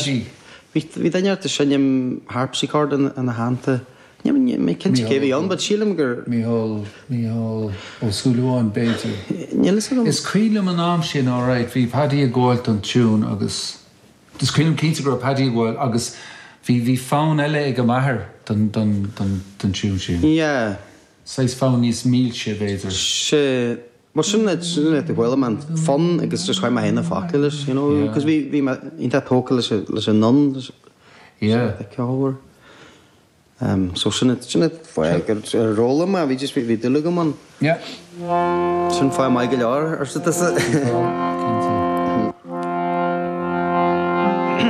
Paddy. Bhí bhí duine ort ag seinm harpsichord ina ina theannta. Níl níl mé cinnte cé bhí ann but sílim gur. Mícheál, Mícheál Ó Súilleabháin b'fhéidir. Níl fhios agam. Is cuimhin liom an am sin alright, bhí Paddy ag gabháil don tiún agus is cuimhin liom cinnte go raibh Paddy ag gabháil agus bhí bhí fonn eile ag m'athair don don don don tiún sin. Yeah. Saghas fonn níos milse b'fhéidir. Sea. Bhuel sin é sin é a chuala mé an fonn agus just chuir mé féin na focail leis, you know, Yeah. cos bhí bhí mé iontach tógtha leis an leis an fhonn leis Yeah. an ceolmhar. Um, so sin é sin é fáth gur ar fhoghlaim mé, bhí just bhí bhí dúil agam ann. Yeah. Sin fáth maith go leor, arsa tusa.